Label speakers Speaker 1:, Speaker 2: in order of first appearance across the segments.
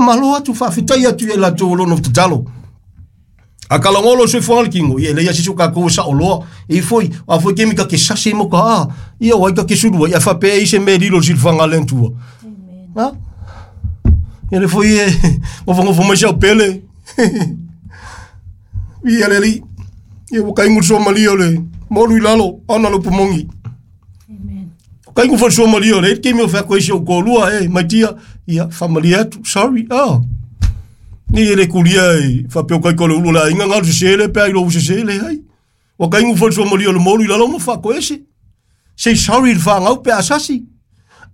Speaker 1: Faamalo atu, faafetai atu ia latou o lo o nofo tatalo. A kalagolo o soifuaga le kino, ia e leai lava se isi o tatou e saoloa. E i foi, a foi kemi ka ke sasi mo ka a, ia o ai ka ke sulu ai, a faapea e i se mea e lilo i le silafaga a le Atua. Ha? Ia le foi e nofonofo mai si au pele. Ia le alii. Ia ua kaigu le suamalie o le molu i lalo, ona le upu moni. Kaigu foi le suamalie o le taimi o feaku ai si ou toalua, e my dear, ia faamalie atu, sorry, ah. Ni e le kulia e faapea o kai o le ulu o le aiga galu sese le pe ai lou sese le ai. Ua kaigu foi le suamalie o le molu i lalo ma faatoese. Say sorry i le fanau pe a sasi.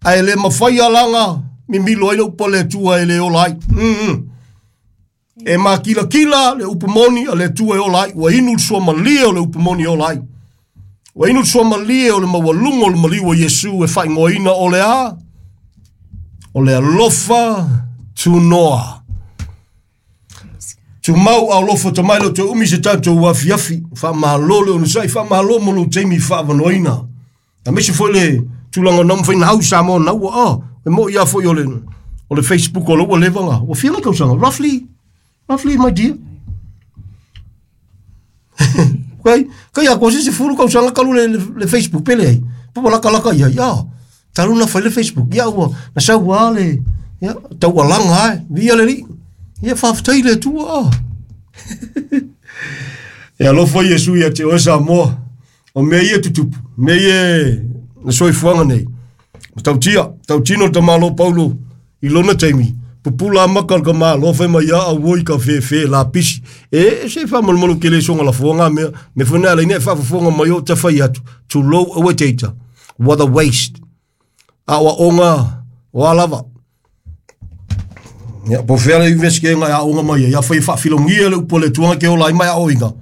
Speaker 1: Ae le mafai alaga mimilo ai le upu a le Atua e le ola ai. E makilakila le upu moni a le Atua e ola ai. Ua inu le suamalie o le upu moni e ola ai. Ua inu le suamalie o le maualuga o le maliu o Iesu e faaigoaina o le a? O le alofa tunoa. Tumau a alofa tamai lo te umi se tatou afiafi. Faamalo le onosai, faamalo mo lou taimi faaavanoaina. Aemaise foi le tulaga na mafai na au i Samoa na ua ah, e moi lava foi o le o le Facebook o lou ua leva na ua fia tausaga roughly roughly my dear. Kai kai a ko se 10 tausaga talu le, le, le Facebook pele ai. Po laka laka ia ia. Talu na fai le Facebook ia ua na sau a le ia tau alanga ai via le li. Ia faafetai le Atua. Ah. E alofa Iesu ia te oe Samoa. O mea ia tutupu, mea ia na soifuaga nei. Ma tautia, tautino le tamalo Paulo i lona taimi, pupula maka le tamalo fai mai ia au oi ka fefe lapisi. E se faamalumalu ke le soga lafoga mea, me foi na ala ina e faafofoga mai o ta fai atu, tulou aua te ita. What a waste. Aoaoga o a lava. Ia, po fea le university ngai aoga mai ai, ia fai faafilogia le upu a le Atua ke ola ai mai aoina.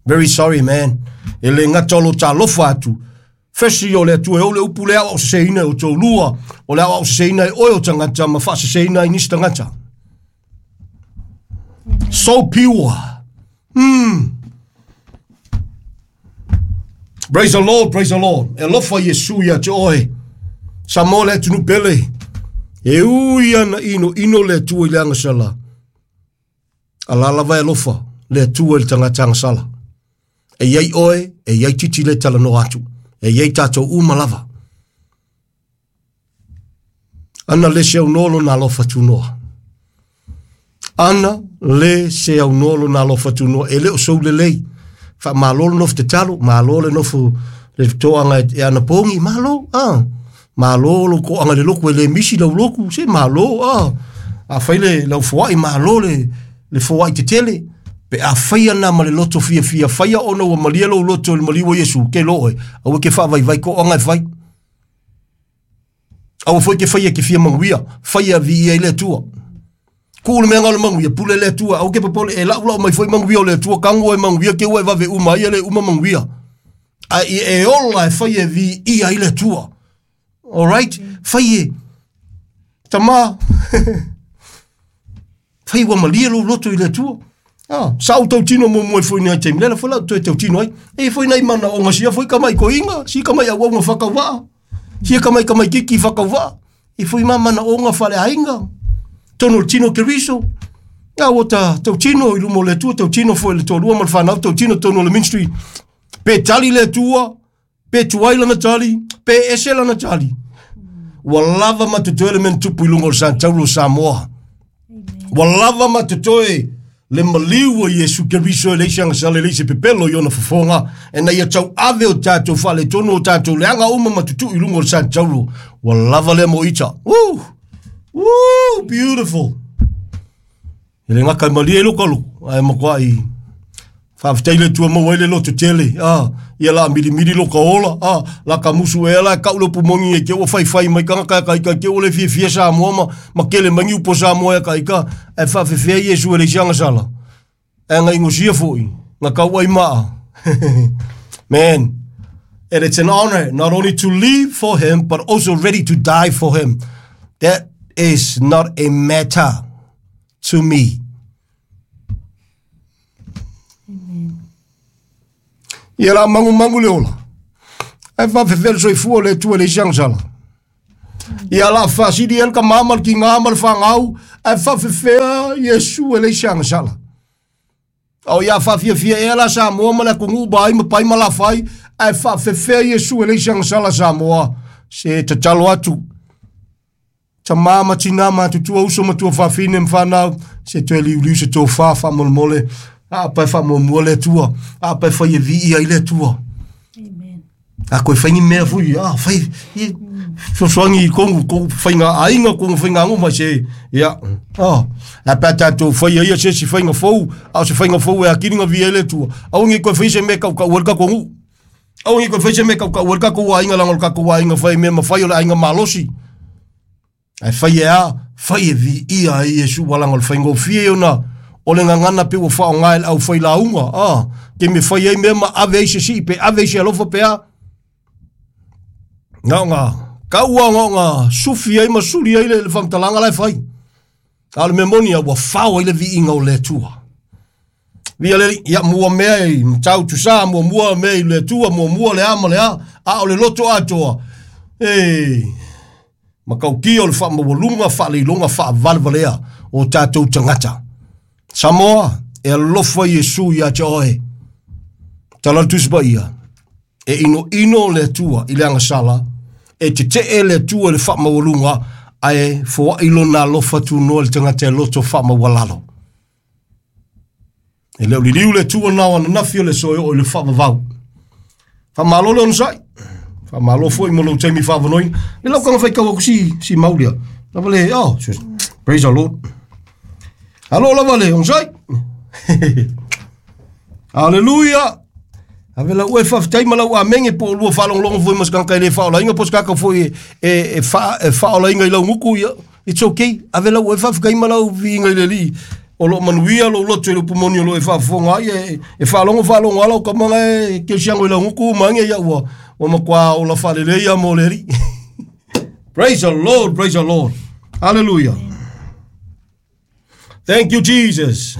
Speaker 1: Very sorry man. E le gata o lo talofa atu. Firstly o le Atua e ou le upu le aoao seseina e o tolua, o le aoao seseina e oe o tagata ma faaseseina ai nisi tagata. So pure. Praise the Lord, praise the Lord. E alofa Iesu ia te oe. Samoa le atunuu pele. E ui ana ino, ino le Atua i le agasala. A la lava e alofa le Atua i le tagata agasala. E iai oe, e iai titi le talanoa atu. E iai tatou uma lava. Ana le se aunoa lona alofa tunoa. Ana le se aunoa lona alofa tunoa. E le o sou lelei. Faamalo le nofo tatalo, malo le nofo le toaga e ana pogi, malo, ah. Malo lo toaga le loku e le misi lau loku, se malo, ah. A fai le lau foai, malo le, le foai tetele. Pe a fai ana ma le loto fiafia, faia ona ua malie lou loto i le maliu o Iesu, ke lo oe, aua ke faavaivai koaga e fai. Aua foi ke faia ke fia manuia, faia viia i le Atua. Kuu le mea ngau le manuia, pule le Atua, aua ke popole, e lau lau mai foi manuia o le Atua, kago e manuia, ke ua e vave uma ai e le uma manuia. A i e ola e fai e viia i le Atua. Alright? Fai e. Tama. Fai ua malie lou loto i le Atua. Ah, sa ou tautino muamua i foi nei taimi, lela foi lau toe tautino ai. E foi nei mana o ngasia foi ka mai koinga, si ka mai auaunga whakawaa, si ka mai ka mai kiki whakawaa. E foi ma mana o ngā whare ainga. Tono le tino Keriso. Ngā o ta tautino i luma o le Atua, tautino foi le toalua ma le whanau, tautino tono o le ministry. Pe tali le Atua, pe tuai lana tali, pe ese lana tali. Ua lava ma totoe le mea na tupu i luga o le Santauro o Samoa. Ua lava ma totoe le maliu o Iesu Keriso e leai se agasala, e leai se pepelo i ona fofoga, ina ia tauave o tatou faaletonu o tatou leaga uma ma tutuu i luga o le Santauro. Ua lava lea mo ita. Woo! Woo! Beautiful! E le gata e malie ai lou kaloko, ae matuai faafetai le Atua maua ai le loto tele. Ah, ia la milimili lo ka ola, ah, la ka musu ea la e kau le upu moni e ke ua faifai mai tagata e ka ika ke ua le fiafia Samoa ma, ma kele mai ni upu o Samoa e ka ika, ae faafefea Iesu e leai se agasala. Ae na inosia foi, na kau ai maa. Man, and it's an honor not only to live for him, but also ready to die for him. That is not a matter to me. Ia la mangumangu le ola. Ae faafefea le soifua o le Atua e leai se agasala. Ia la faasili ai le tamā ma le tigā ma le fanau, ae faafefea Iesu e leai se agasala. A o ia faafiafia ea la Samoa ma le atunuu ma ai ma pai ma lafai, ae faafefea Iesu e leai se agasala Samoa. Se tatalo atu, tamā ma tinā matutua, uso ma tuafafine ma fanau, se toe liuliu se tofa faamolemole, a pa e faamuamua le Atua, a pa e fai e viia ai le Atua.
Speaker 2: Amen.
Speaker 1: A koe fai ni mea foi, a fai, i, fesoasoani i kou faiga aiga, kou faiga ago mai se, ia, a pe a tatou faia ia se isi faiga fou, a o se faiga fou e atili na viia ai le Atua. Aua ne i toe fai se mea e tautau ai le tatou nuu. Aua ne i toe fai se mea e tautau ai le tatou aiga, leaga o le tatou aiga fai mea mafai o le aiga malosi. Ae fai e a? Fai e viia ai Iesu ua leaga o le faigofie ona o le gagana pe ua faaaoga e le aufailauga, taimi e fai ai mea ma ave ai se sii pe ave ai se alofa pe a. Na ona tau lava na ona sufi ai ma suli ai le faamatalaga la e fai. A o le mea moni ua fao ai le viiga o le Atua. Via le Alii, ia mua mea i matau tusa, muamua mea i le Atua, muamua le a ma le a, a o le loto atoa, e matautia o le faamaualuga, faaleiloga, faavalevalea o tatou tagata. Samoa, e alofa Iesu ia te oe. Tala le Tusi Paia, e inoino le Atua i le agasala, e tetee le Atua i le faamaualuga, ae foai lona alofa tunoa i le tagata e loto faamaualalo. E le o liliu le Atua na o ananafi o le aso e oo i le faavavau. Faamalo le onosai. Faamalo foi mo lou taimi faavanoina. Le lau kaga faitau atu si mau lea. Lava le, oh, praise the Lord. Alo lava le onosai. Hallelujah. Ave lau e faafetai ma lau amenge po o lua faalogologo foi ma se tagata e le faaolaina po o se tagata foi e faaolaina i lau gutu, ia, it's okay. Ave lau e faafetai ma lau viiga i le Alii. O loo manuia lou loto i le upu moni o loo e faafofoga ai, e faalogo faalogo ala o tamaga e keusiago i lau gutu ma age, ia ua matua ola faalelei ia mo le Alii. Praise the Lord, praise the Lord. Hallelujah. Thank you, Jesus.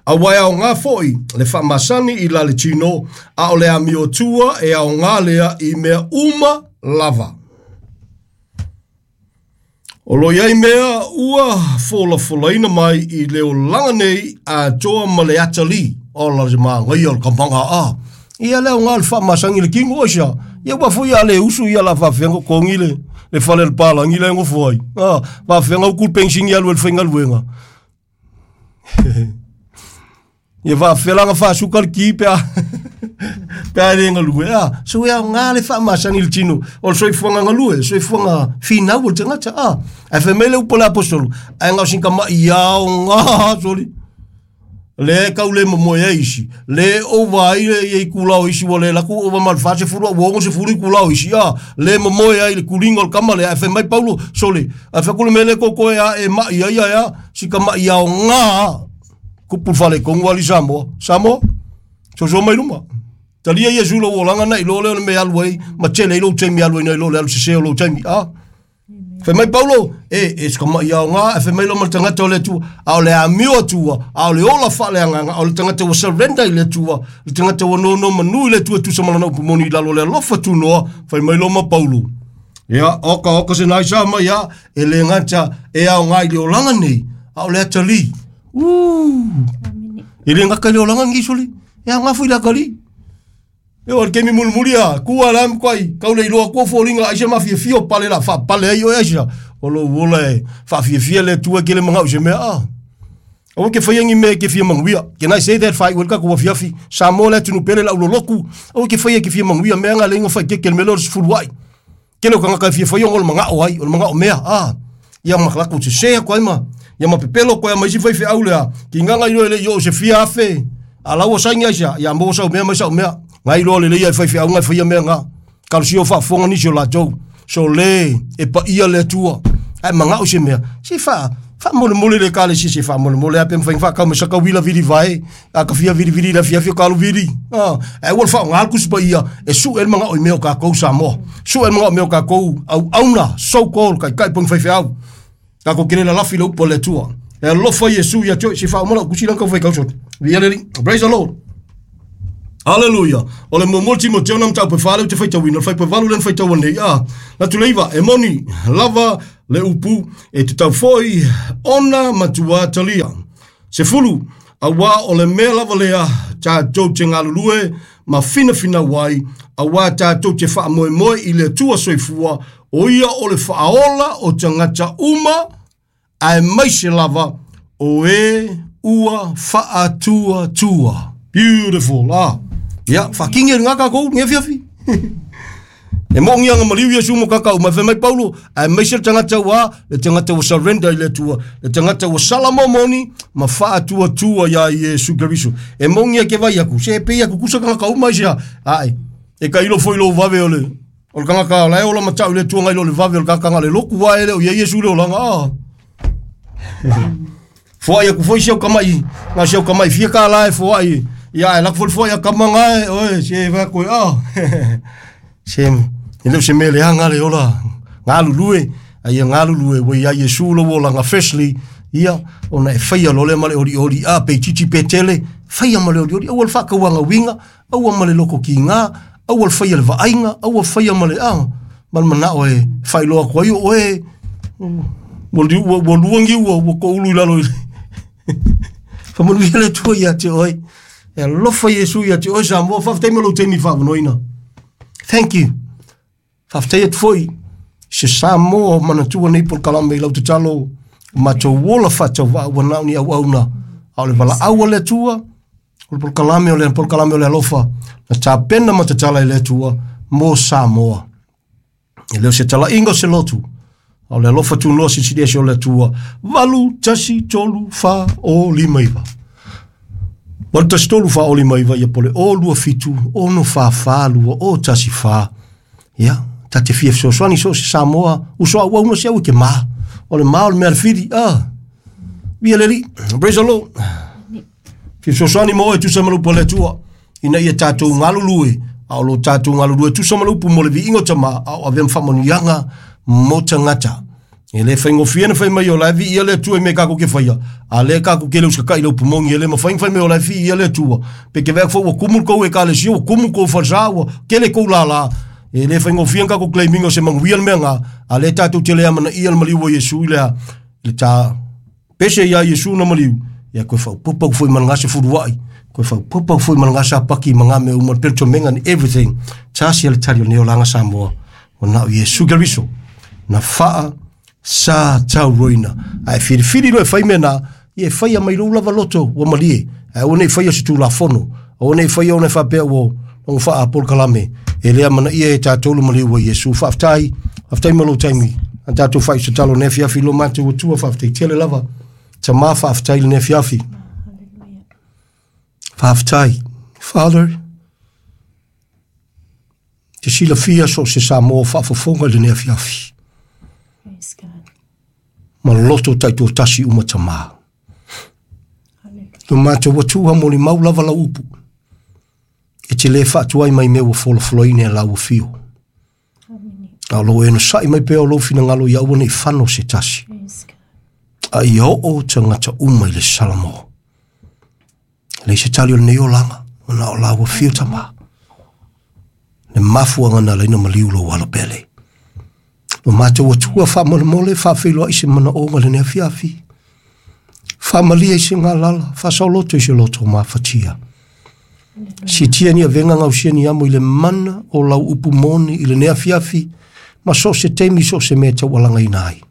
Speaker 1: Aua e aoga foi le faamasani i la le tino, a o le amiotua e aoga lea i mea uma lava. O lo o i ai mea ua folafolaina mai i le olaga nei atoa ma le atalii. O la se magaia o le kamaga a. Ia le aoga o le faamasani i le tino aisa. Ia ua foi a le usu ia la faafeaga totogi le fale le palagi la e nofo ai. Faafeaga utu le penisini alu e le faigaluega. Ia faafefea la ona faasuka le ki pe a pe a le galue. So e aoga le faamasani i le tino o le soifuaga galue, soifuaga finau o le tagata. Ae fai mai le upu a le aposetolo, ae na o sin tama'i aoga soli. Le kau le momoe ai isi, le ova ai le ia itula o isi ua le laku ova ma le 40 a ua 60 itula o isi, le momoe ai le kuliga o le kama lea. Ae fai mai Paulo, sole, ae fai atu le mea le koko e a e mai ai ai a, si tama'i aoga. Kupu le faaletonu ali Samoa. Samoa, sosoa mai luma. Talia Iesu lou olaga na i lo lea o le mea alu ai, ma tele ai lou taimi alu ai na i lo le alu sese o lou taimi. Fai mai Paulo, e se tama'i aoga, e fai mai lo ma le tagata o le Atua, a o le amio Atua, a o le ola faaleagaga, a o le tagata ua surrender i le Atua, le tagata ua nono manu i le Atua tusa ma lana upu moni i lalo o le alofa tunoa, fai mai lo ma Paulo. Ia, oka oka se nai sa mai a, e le gata e aoga i le olaga nei, a o le atalii. E le gata i le olaga nei soli, e aoga foi i le atalii. E o le taimi mulimuli a, kua la mkwai, kau le iloa kua foliga ai se mafiafia o pale la faapale ai oe aisa. O lou ola e fafiafia le Atua ke le mangau se mea a. Aua ke faia ni mea ke fia manuia. Can I say that fai ua ka kua fiafi. Samoa le atunu pele lau loloku. Aua ke faia ke fia manuia mea nga le inga fai ke ke le mea leo le sefulu ai. Tele o tagata e fia faia ona o le magao ai, o le magao mea, Ia ma latou sese atu ai ma, ia ma pepelo atu ai ma isi faifeau lea, ki gaga iloa e le i oo i se fia afe, a la ua saini ai sea, ia maua sau mea mai sau mea. Na iloa lelei ai faifeauga e faia mea na. Kalosia o faafofoga nisi o latou. So le, e paia le Atua. Ae magao i se mea, se faa, faamolemole le ekalesia se faamolemole a pe mafai ona faatau mai saka uila vili vae, a ka fia vilivili i le afiafi o ka alu vili. Ae ua le faaaoga le Tusi Paia e sue le magao i mea o tatou Samoa. Sue le magao i mea o tatou auauna, so called taitai po o ni faifeau. Tatou te le lalafi i le upu a le Atua. E alofa Iesu ia te oe, se faauma lau tusi lea na tau fai tau sole. Viia le Alii. Praise the Lord. Aleluia. O le muamua Timoteo na mataupu e 4 lea ou te faitauina, o le fuaiupu e 8 lea na faitau nei. A, latu le 9, e moni lava le upu e tatau foi ona matua talia. 10, auā o le mea lava lea tatou te galulue ma finafinau ai, auā tatou te faamoemoe i le Atua soifua, o ia o le faaola o tagata uma, aemaise lava o e ua faatuatua. Beautiful. Ah. Ia, whakingi e ngā kākou, ngā fiafi. E mo ngi anga maliu Iesu mo kakau mai mai Paulo aemaise le tagata ua le tagata ua surrender i le Atua le tagata ua sala momoni ma faatuatua ia Iesu Keriso e mo ngi ke vai aku se pe aku kusa kanga kau mai sia ai e ka ilo foi lo vave ole o le kanga la e ola matau le Atua ngai lo le vave o le kakanga le loku wa ele o ia Iesu le olanga ah Foai aku foi si au kamai, ngā si au kamai fia ka la e foai. Ia e lak foi foai a kamanga e, oe, se va koe, ah. Se, e leo se mea leaga le ola, galulue, a ia galulue, ua ia Iesu lo olaga freshly, ia, ona e faia loa lea ma le olioli, a, pe itiiti pe tele, faia ma le olioli, aua le faakauaga uiga, aua ma le loko kiga, aua le faia le vaaiga, aua faia ma le, a, ma le manao e faailoa atu ai o oe, ua, ua, ua luangi ua, ua koulu i lalo i le. Faamanuia le Atua ia te oe. E alofa Iesu ia te oe Samoa. Faafetai mo lou taimi faavanoina. Thank you. Faafetai atu foi i se Samoa o manatua nei polokalame i lau tatalo o matou ola faatauvaa ua na o ni auauna a o le valaau a le Atua o le polokalame o le polokalame o le alofa na tapena ma tatala e le Atua mo Samoa. E le o se talaiga o se lotu, a o le alofa tunoa silisili ese o le Atua. 8, 1, 3, 4, 0, 5, 9. 8, 1, 3, 4, 0, 5, 9, ia po le 0, 2, 7, 6, 4, 4, 2, 0, 1, 4. Ia, ta te fia fesoasoani so o se Samoa, uso auauna se au e ke mā. O le mā o le mea a le fili, ah. Via le Alii. Praise the Lord. Fia fesoasoani mo oe tusa ma le upu a le Atua, ina ia tatou galulue, a o lo tatou galulue tusa ma le upu mo le viiga o Tama, a o avea ma faamanuiaga mo tagata. E le faigofie na fai mai o la e viia le Atua i mea kākou ke faia, a lea kākou ke le usaka'i i le upu moni, e le mafai ona fai mai o la e viia le Atua. Pe ke vea foi ua kumu le kou ekalesia, ua kumu kou falesa, ua kele kou lālā. E le faigofie na kākou claim ina o se manuia le mea ngā, a lea tātou te le amanaia le maliu o Iesu i le a, i le tā Pese iā Iesu na maliu, ia koe whaupapa foi ma ngā se furuai, koe whaupapa foi ma ngā sapaki ma ngā mea uma, le menga and everything. Tasi a le tali o nei olaga Samoa, o na o Iesu Keriso, na whaa sa tauroina. Ae whiriwhiri loa e whai mea nā, ia e whaia mai lou lava loto, ua malie. Ae aua nei whaia se tulafono, aua nei whaia ona e whapea ua logo whaa polokalame. E lea manaia e tātou le maliu o Iesu. Faafetai, faafetai mo lou taimi. A tātou whai se talo nei afiafi lo mātou Atua, faafetai tele lava. Tamā faafetai lenei afiafi. Faafetai. Father, te silafia so o se Samoa faafofoga i lenei afiafi.
Speaker 2: Praise God.
Speaker 1: Ma loto taitoatasi uma tamā.
Speaker 2: Hallelujah.
Speaker 1: Lo mātou Atua molimau lava lau upu. E te le faatuai mai mea ua folafolaina e lau afio.
Speaker 2: Amen.
Speaker 1: A o lou onosai mai pea o lou finagalo ia aua nei fano se tasi.
Speaker 2: Praise God.
Speaker 1: A ia oo tagata uma i le Salamo. E leai se tali o lenei olaga, ona o lau afio tamā. Le mafuaaga na ala ai ona maliu lou alo pele. Lo matou Atua faamolemole, faafeiloai se manaoga i lenei afiafi. Faamalie i se galala, faasaoloto i se loto mafatia. Siitia ni avega gausia ni amo i le mana o lau upu moni i lenei afiafi, ma so o se taimi so o se mea e taualagaina ai.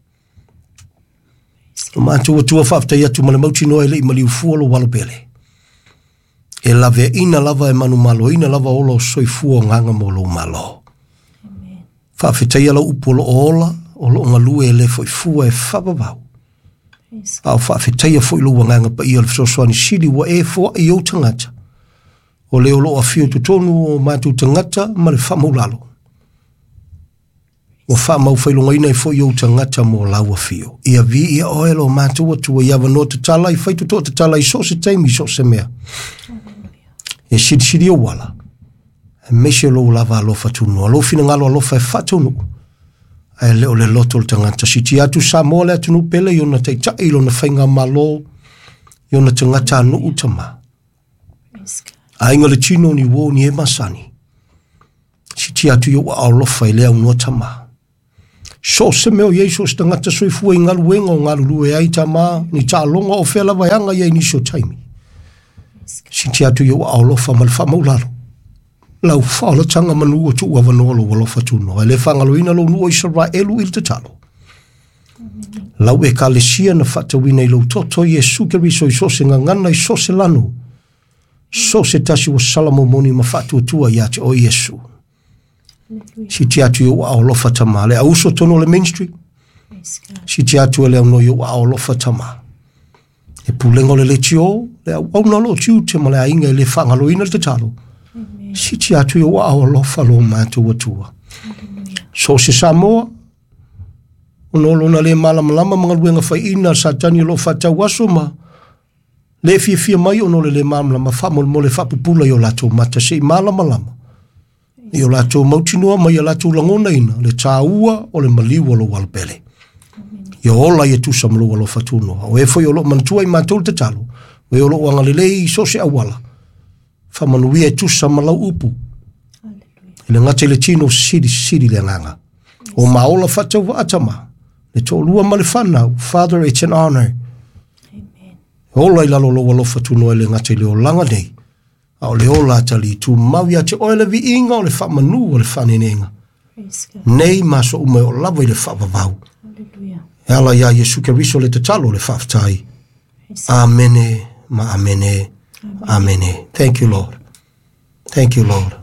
Speaker 1: Lo matou Atua faafetai atu ma le mautinoa e le i maliu fua lou alo pele. E laveaina lava e manumaloina lava ola o soifua o agaga mo lou Malo. Faafetaia lau upu o lo o ola, o lo o galue e le foi fua e faavavau. A o faafetaia foi lou agaga paia o le fesoasoani sili ua e foai i ou tagata. O le o lo o afio i totonu o matou tagata ma le faamaulalo. Ua faamaufailogaina ai foi ou tagata mo lau afio. Ia viia oe lo matou Atua i avanoa tatala, i faitotoa tatala i so o se taimi, i so o se mea. E silisili ou ala, aemaise lou lava alofa tunoa, lou finagalo alofa e faataunuu, ae le o le loto o le tagata. Siitia atu Samoa le atunuu pele i ona taitai, i lona faigamalo, i ona tagatanuu tamā. Aiga le tino ni uō ni e masani. Sitia atu i ou aao alofa i le aunoa Tamā. So o se mea o i ai so o se tagata soifua i galuega o galulue ai Tamā, ni taaloga o fea lava e aga i ai nisi o taimi. Sitia atu i ou aao alofa ma le faamaulalo. Lau faaolataga manu o tuu avanoa lou alofa tunoa. E le faagaloina lou nuu o Isaraelu i le tatalo. Lau ekalesia na faatauina i lou toto Iesu Keriso i so o se gagana i so o se lanu, so o se tasi ua sala momoni ma faatuatua ia te oe Iesu. Sitia atu i ou aao alofa Tamā. Le auso tonu o le ministry, sitia atu e le aunoa i ou aao alofa Tamā. E pulega o le leitio, le auauna o loo tiute ma le aiga e le faagaloina le tatalo. Sitia atu i ou aao alofa lo matou Atua. So o se Samoa, ona o lona le malamalama ma galuega faiina a le Satani o lo o faatau aso ma le fiafia mai ona o le le malamalama, faamolemole faapupula i o latou mata se i malamalama i o latou mautinoa ma ia latou lagonaina le tāua o le maliu o lou alopele. Ia ola ia tusa ma lou alofa tunoa. O e foi o loo manatua i matou le tatalo, o e o loo agalelei i so o se auala, faamanuia e tusa ma lau upu. E le gata i le tino, silisili le agaga. O maola faatauvaa Tamā, le toalua ma le fanau. Father, it's an honor.
Speaker 2: Amen.
Speaker 1: Ola i lalo o lou alofa tunoa e le gata i le olaga nei, a o le ola atalii tumau ia te oe le viiga o le faamanu o le faanenega.
Speaker 2: Praise God.
Speaker 1: Nei ma aso uma e oo lava i le faavavau.
Speaker 2: Hallelujah.
Speaker 1: E ala iā Iesu Keriso le tatalo le faafetai.
Speaker 2: Praise God.
Speaker 1: Amene ma amene. Amene. Thank you, Lord. Thank you, Lord.